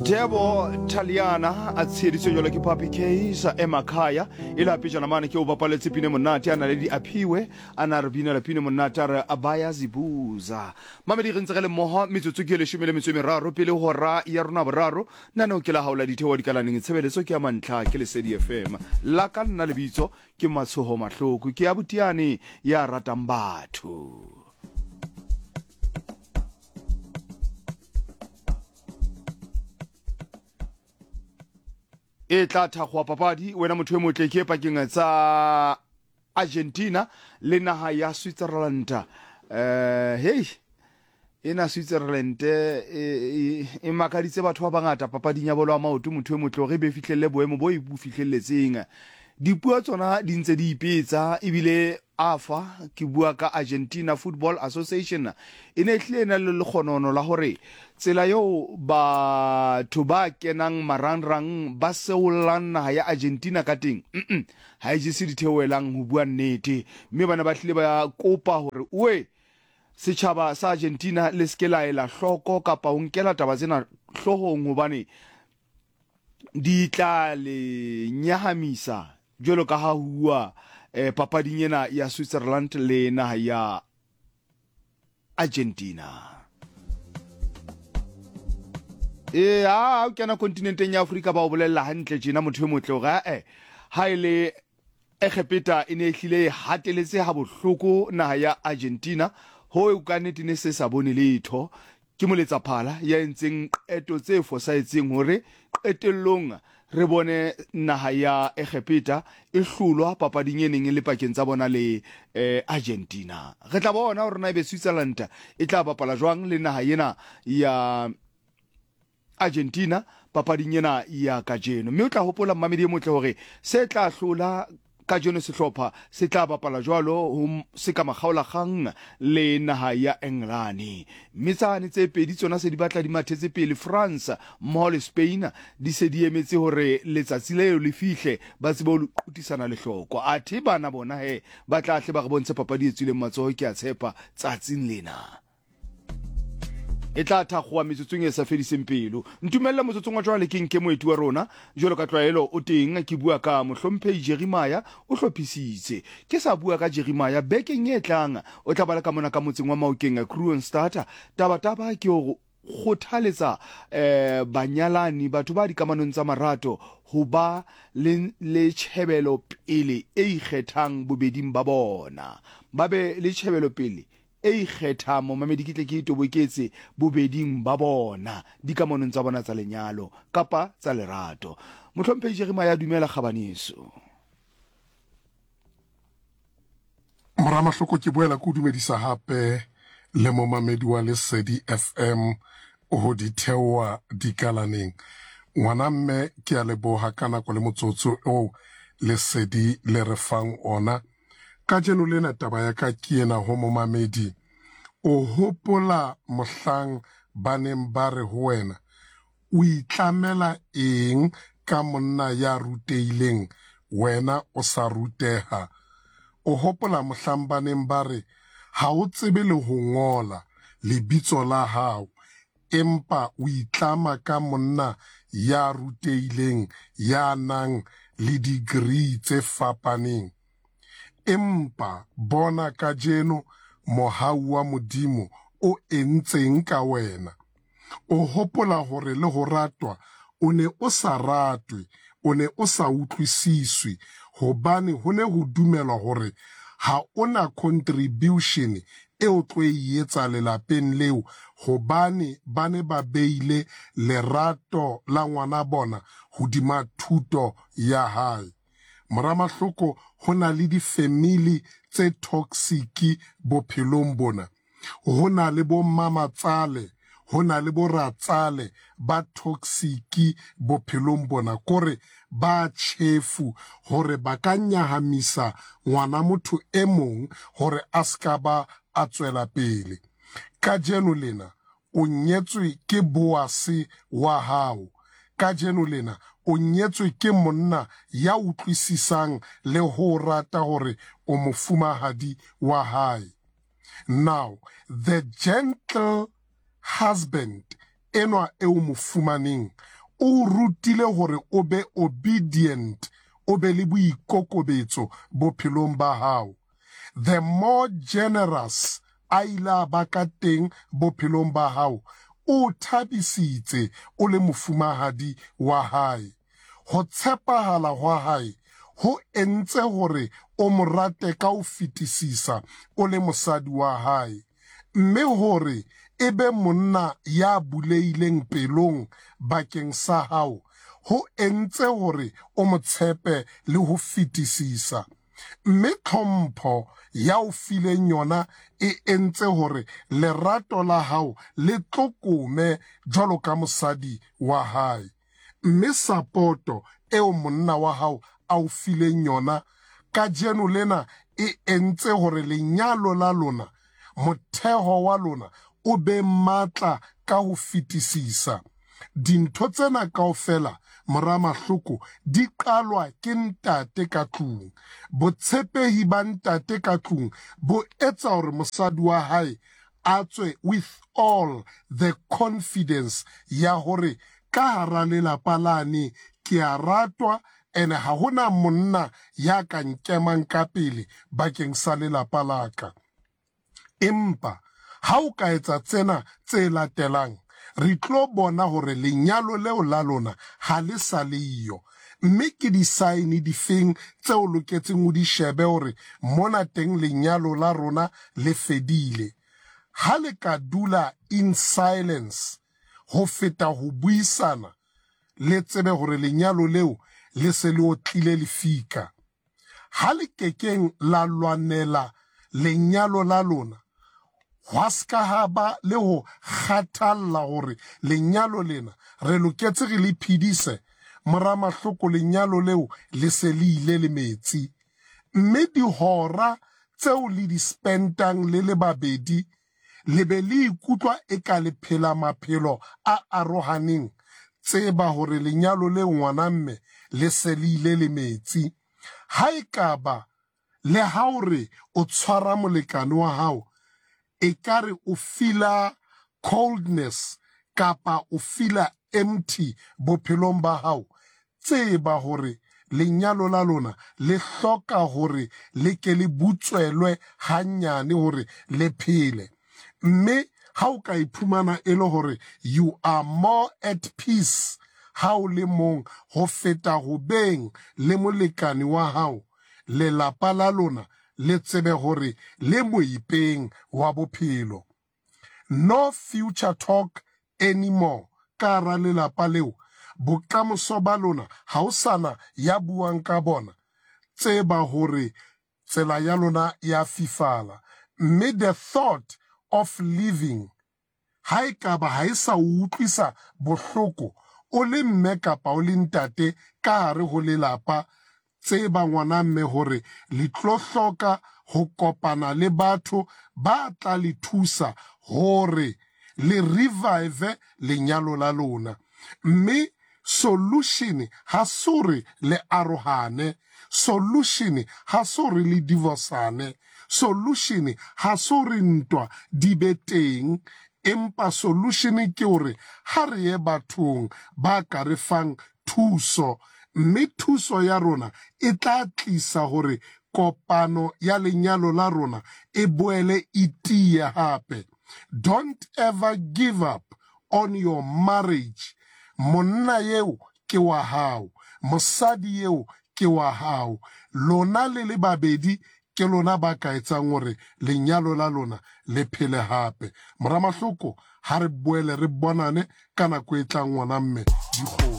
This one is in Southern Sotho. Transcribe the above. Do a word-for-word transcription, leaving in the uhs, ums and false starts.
Debo Taliana a tsheditswe jalo ke Papi Case Emakhaya e le pejana mane ke o bapaletse pine monate a na le di aphiwe a na re binela pine monate a re abaya zibuza. Mamedi re ntse re le mmoho metsotso ke leshome le metso e meraro pele hora ya rona boraro. Nano ke la haola ditheo dikalaneng tshebeletso ke ya mantlha ke Lesedi F M. La ka nna lebitso ke Matshoho Mahloko ke ya botiane ya ratang batho. E tla thakgoa papadi wena motho e motle ke pakeng tsa Argentina le naha ya Switzerland. Eh hey ena Switzerland e e makaditse batho ba bangata papading ya bolo ya maoto motho e motle re be fihlelle boemo bo e bo fihlelletseng. Dipuo tsona di ntse di ipetsa ebile A F A ke bua ka Argentina Football Association e ne hlile na le lekgonono la hore tsela eo batho ba kenang marangrang ba seollang naha ya Argentina ka teng mm ha e jese ditheohelang ho bua nnete, mme bana ba hlile ba kopa hore oe setjhaba sa Argentina le se ke la ela hloko kapa ho nkela taba tsena hloohong hobane di tla le nyahamisa jwalo ka ha hua eh, papading ena ya Switzerland le naha ya Argentina. E ha o kena kontinenteng ya Afrika ba o bolella hantle tjena motho e motle hore eh ha ile Egepeta e ne e hlile e hateletse ha bohloko naha ya Argentina ho ka nnete ne se sa bone letho. Ke moletsa phala ya entseng qeto tse fosahetseng hore qetellong re bone naha ya Egepeta e hlolwa papading e neng e le pakeng tsa bona le eh, Argentina. Re tla bona hore na ebe Switzerland e tla bapala jwang le naha ena ya Argentina papading ena ya kajeno. Mme o tla hopola mmamedi e motle hore se tla hlola kajeno sehlopha se tla bapala jwalo ho se ka makgaolakgang le naha ya Engelane. Mme tsane tse pedi tsona se di batla di mathetse pele, France mmoho le Spain di se di emetse hore letsatsi leo le fihle ba tsebe ho qutisana lehloko. Athe bana bona he ba tla hle ba re bontshe papadi e tswileng matsoho ke a tshepa tsatsing lena. E tla thakgoa metsotsong e sa fediseng pelo. Ntumelle motsotsong wa jwale ke nke moeti wa rona jwalo ka tlwaelo o teng, ke bua ka mohlomphehi Jeremiah o hlophisitse. Ke sa bua ka Jeremiah bekeng e tlang o tla bala ka mona ka motseng wa Maokeng Kroonstad. Taba taba ke hore kgothaletsa eh banyalani batho ba dikamanong tsa marato ho ba le le tjhebelo pele e ikgethang bobeding ba bona. Ba be le tjhebelo pele e ikgethang momamedi ke tle ke itoboketse bobeding ba bona dikamanong tsa bona tsa lenyalo kapa tsa lerato. Mohlomphehi Jeremiah, dumela kgabaneso. Mora Mahloko, ke boela ke o dumedisa hape le momamedi wa Lesedi F M ho di theoha dikalaneng. Ngwana mme ke a leboha ka nako le motsotso o Lesedi le re fang ona. Kajeno lena taba ya ka ke ena ho momamedi. O hopola mohlang ba neng ba re ho wena, o itlamela eng ka monna ya rutehileng, wena o sa ruteha? O hopola mohlang ba neng ba re ha o tsebe le ho ngola lebitso la hao, empa o itlama ka monna ya rutehileng ya nang le degree tse fapaneng. Empa bona kajeno mohau wa Modimo o entseng ka wena. O hopola hore le ho ratwa o ne o sa ratwe, o ne o sa utlwisiswe, hobane ho ne ho dumelwa hore ha ona contribution e o tlo e etsa lelapeng leo, hobane ba ne ba beile lerato la ngwana bona hodima thuto ya hae. Mora Mahloko, ho na le di-family tse toxic bophelong bona. Ho na le bo mamatsale, ho na le bo ratsale ba toxic bophelong bona, kore ba tjhefu hore ba ka nyahamisa ngwana motho e mong hore a ska ba a tswela pele. Kajeno lena o nyetswe ke Boase wa hao. Kajeno lena o nyetswe ke monna ya utlwisisang le ho rata hore o mofumahadi wa hae. Now, the gentle husband enwa eo mo fumaneng o rutile hore o be obedient, o be le boikokobetso bophelong ba hao. The more generous a ile a ba ka teng bophelong ba hao, o thabisitse o le mofumahadi wa hae. Ho tshepahala hwa hae ho entse hore o mo rate ka ho fetisisa o le mosadi wa hae, mme hore e be monna ya bulehileng pelong bakeng sa hao ho entse hore o mo tshepe le ho fetisisa, mme tlhompho ya o fileng yona e entse hore lerato la hao le tlokome jwalo ka mosadi wa hae, mme sapoto eo monna wa hao a o fileng yona kajeno lena e entse hore lenyalo la lona, motheho wa lona, o be matla ka ho fetisisa. Dintho tsena kaofela, mora Mahloko, di qalwa ke ntate ka tlung. Botshepehi ba ntate ka tlung bo etsa hore mosadi wa hae a tswe with all the confidence ya hore ka hara lelapa lane ke a ratwa, ene ha hona monna ya ka nkemang ka pele bakeng sa lelapa la ka. Empa ha o ka etsa tsena tse latelang, re tlo bona hore lenyalo leo la lona ha le sa le yo. Mme ke di-sign difeng tseo loketseng o di shebe hore mona teng lenyalo la rona le fedile? Ha le ka dula in silence ho feta ho buisana, le tsebe hore lenyalo leo le se le otlile lefika. Ha le kekeng la lwanela lenyalo la lona, hwa ska ha ba le ho kgathalla hore lenyalo lena re loketse re le phedise, mora Mahloko, lenyalo leo le se le ile le metsi. Mme dihora tseo le di spentang le le babedi, le be le ikutlwa e ka le phela maphelo a arohaneng, tseba hore lenyalo leo ngwana mme le se le ile le metsi. Ha ekaba le ha o re o tshwara molekane wa hao, ekare o feela coldness kapa o feela empty bophelong ba hao, tseba hore lenyalo la lona le hloka hore le ke le butswelwe hanyane hore le phele. Mme ha o ka iphumana e le hore you are more at peace ha o le mong ho feta ho beng le molekane wa hao, lelapa la lona le tsebe hore le moipeng wa bophelo. No future talk anymore ka hara lelapa leo. Bokamoso ba lona ha o sana ya buang ka bona. Tseba hore tsela ya lona ya fifala. Mme the thought of living, ha ekaba ha e sa o utlwisa bohloko o le mme kapa o le ntate ka hare ho lelapa, tseba ngwana mme hore le tlo hloka ho kopana le batho ba tla le thusa hore le revive lenyalo la lona. Mme solution ha se hore le arohane, solution ha se hore le divorcane, solution ha se hore ntwa di be teng, empa solution ke hore ha re ye bathong ba ka re fang thuso, mme thuso ya rona e tla tlisa hore kopano ya lenyalo la rona e boele e tiye hape. Don't ever give up on your marriage. Monna eo ke wa hao, mosadi eo ke wa hao, lona le le babedi ke lona ba ka etsang hore lenyalo la lona le phele hape. Mora Mahloko, ha re boele re bonane ka nako e tlang ngwana mme dikgomo.